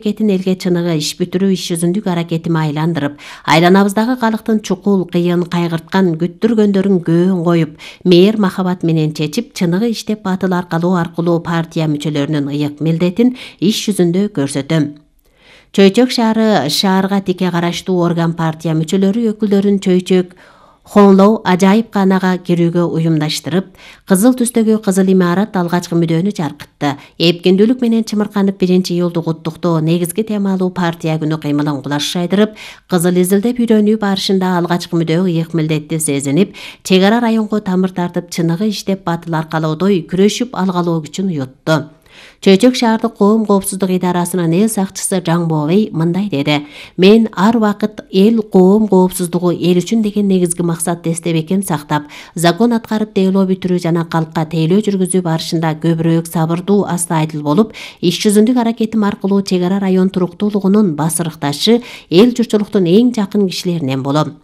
Кетин элге чыныгы иш бүтүрүү иш жүзүндүк аракетими айландырып, айланабыздагы калктын чукул, кыйын, кайгырткан, күттүргөндөрүн көөн коюп, мээр махабат менен чечип, чыныгы иштеп батыл аркылуу партия мүчөлөрүнүн ыйык милдетин иш жүзүндө көрсөтөм. Чөйчөк шаарга тике караштуу орган партия мүчөлөрү өкүлдөрүн Чөйчөк Хоңлоо ажайып канага кирүүгө уюмдаштырып, кызыл түстөгү кызыл имарат алгачкы мүдөөнү жаркытты. Эпкиндүүлүк менен чымырканып 1-июлду куттуктоо негизги темалуу партия күнү кыймылын кулаш жайдырып, кызыл изилдеп үйрөнүү барышында алгачкы мүдөө ыйык милдетти сезинип, чек ара районго тамыр тартып, чыныгы иштеп батыл аркалоодой күрөшүп алгалоо күчүн уютту. Чөйчөк шаардык коом коопсуздук идарасынын эл сакчысы Жаңбообей мындай деди: "Мен ар убакыт эл коом коопсуздугу эл үчүн деген негизги максатты эстебекем сактап, закон аткарып дейлоо бүтүрүү жана калкка тейлөө жүргүзүү барышында көбүрөөк сабырдуу, астайдыл болуп, иш жүзүндүк аракетим аркылуу чек ара район туруктуулугунун басырыкташы, эл журтчулуктун эң жакын кишилеринен болом".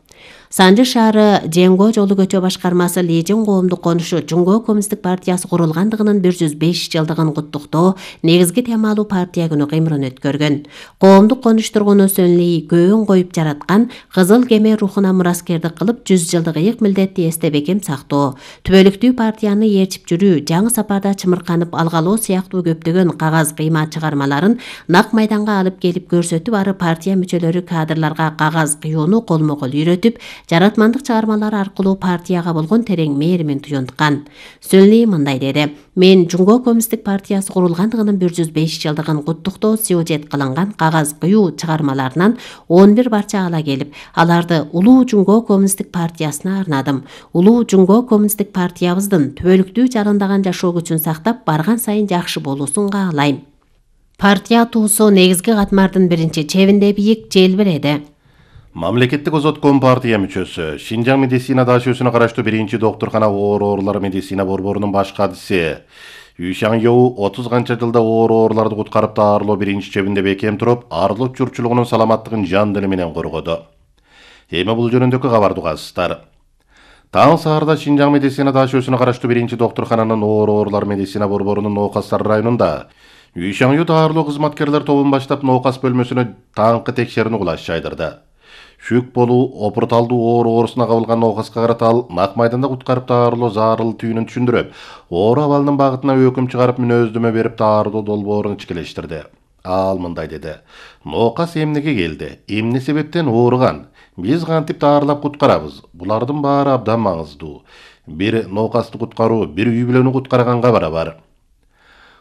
Санжы шаары Жеңго жолу көчө башкармасы Лежин коомдук конушу Жумго коммунисттик партиясы курулгандыгынын 105 жылдыгын куттуктоо негизги темалуу партия күнү кыймылын өткөргөн. Коомдук конуш тургуну Сөнли көөн коюп жараткан кызыл кеме рухуна мураскердик кылып 100 жылдык ыйык милдетти эстебекем сактоо, түбөлүктүү партияны ээрчип жүрүү, жаңы сапарда чымырканып алгалоо сыяктуу көптөгөн кагаз кыйма чыгармаларын нак майданга алып келип көрсөтүп, ары партия мүчөлөрү кадрларга кагаз кыюуну колмо-кол үйрөтүп, жаратмандык чыгармалары аркылуу партияга болгон терең мээримин туюнткан. Сөнли мындай деди: "Мен Жумго коммунисттик партиясы курулгандыгынын 105 жылдыгын куттуктоо сюжет кылынган кагаз кыюу чыгармаларынан 11 барча ала келип, аларды улуу Жумго коммунисттик партиясына арнадым. Улуу Жумго коммунисттик партиябыздын түбөлүктүү жарандаган жашоо күчүн сактап, барган сайын жакшы болуусун каалайм. Партия туусу негизги катмардын биринчи чебинде бийик желбиреди". Мамлекеттик озотком партия мүчөсү, Шинжаң медицина даашөсүнө караштуу 1-доктуркана оорулар медицина борборунун баш кадиси Юшаң Йоу 30 канча жылда ооруларды куткарып даарылоо 1-чи чебинде бекем туруп, арлык журтчулугунун саламаттыгын жан дили менен коргоду. Эми бул жөнүндөгү кабарды угасыздар. Таң саарда Шинжаң медицина даашөсүнө караштуу 1-доктуркананын оорулар медицина борборунун Ноокастар районунда Юшаң Йоу даарылоо кызматкерлер тобун баштап Ноокас бөлмөсүнө таңкы текшерүүнү кулаш жайдырды. Шүк болуу, опурталдуу оорусуна кабылган Ноокаска карата ал нак майданда куткарып даарылоо зарыл түйүнүн түшүндүрүп, оору абалынын багытына өкүм чыгарып мүнөздөмө берип даарылоо долбоорун ичкилештирди. Ал мындай деди: "Ноокас эмнеге келди? Эмне себептен ооруган? Биз кантип даарылап куткарабыз? Булардын баары абдан маңыздуу. Бир Ноокасты куткаруу, бир үй бүлөнү куткарганга барабар".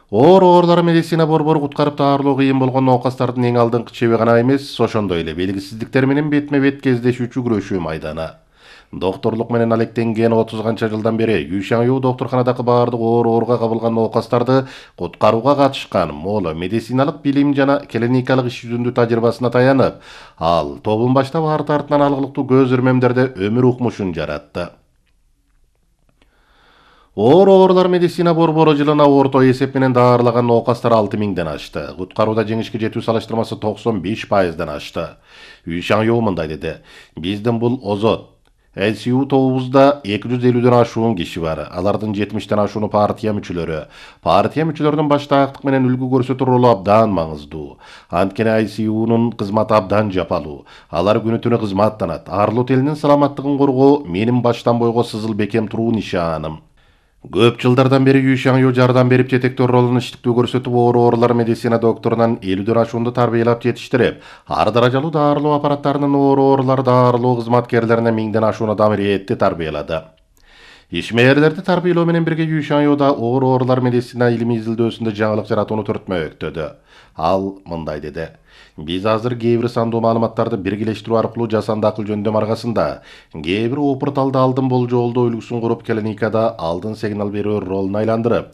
Оорулар медицина борбору куткарып даарылоо кыйын болгон ноокастардын эң алдыңкы чеби гана эмес, ошондой эле белгисиздиктер менен бетме-бет кездешүүчү күрөшүү майданы. Докторлук менен алектенген 30 канча жылдан бери Юшаң Йоу доктурканадагы баардык ооруга кабылган ноокастарды куткарууга катышкан моло медициналык билим жана клиникалык иш жүзүндүү тажрыйбасына таянып, ал тобун баштап арты артынан алгылыктуу көз ирмемдерде өмүр укмушун жаратты. Оорулар медицина борбору жылына орто эсеп менен даарылаган ноокастар 6000ден ашты. Куткарууда жеңишке жетүү салыштырмасы 95%дан ашты. Юшаң Йоу мындай деди: "Биздин бул озот ICU тобубузда 250ден ашуун киши бар. Алардын 70ден ашууну партия мүчөлөрү. Партия мүчөлөрүнүн баштаактык менен үлгү көрсөтүү ролу абдан маңыздуу. Анткени ICUнун кызматы абдан жапалуу. Алар күнү-түнү кызматтанат. Арлут элинин саламаттыгын коргоо менин баштан бойго сызыл бекем туруу нишаным". Көп жылдардан бери Юшаң Йоу жардам берип жетектөө ролун иштиктүү көрсөтүп, оорулар медицина докторунан 50ден ашуунду тарбиялап жетиштирип, ар даражалуу даарылоо аппараттарынын оорулар даарылоо кызматкерлерине 1000ден ашууну дамириетти тарбиялады. Ишмээрлерди тарбиялоо менен бирге Юшаң Йоуда оорулар медицина илимий изилдөөсүндө жаңылык жаратууну түртмөктөдү. Ал мындай деди: "Биз азыр кээ бир сандуу маалыматтарды биргелештирүү аркылуу жасанды акыл жөндөм аркасында кээ бир опурталды алдын болжолдоо үлгүсүн куруп, клиникада алдын сигнал берүү ролуна айландырып,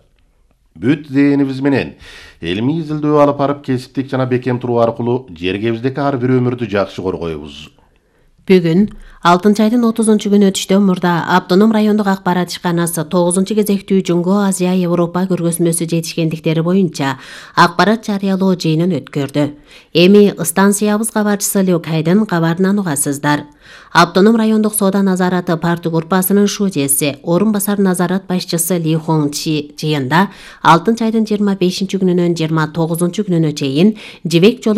бүт зээнибиз менен илимий изилдөө алып барып, кесиптик жана бекем туруу аркылуу жергебиздеги ар бир өмүрдү жакшы коргойбуз". Бүгүн 6 айдын 30-күнү өтүштөн мурда Автоном райондук акпарат ишканасы 9-кезектүү Жуңго Азия Европа көргөзмөсү жетишкендиктери боюнча акпарат жарыялоо жыйынын өткөрдү. Эми станциябыз кабарчысы Люк Хайдын кабарынан угасыздар. Автоном райондук соода назараты парты группасынын шужеси, орун басар назарат башчысы Ли Хонг Чи жыйында 6-айдын 25-күнүнөн 29-күнүнө чейин жибек жолу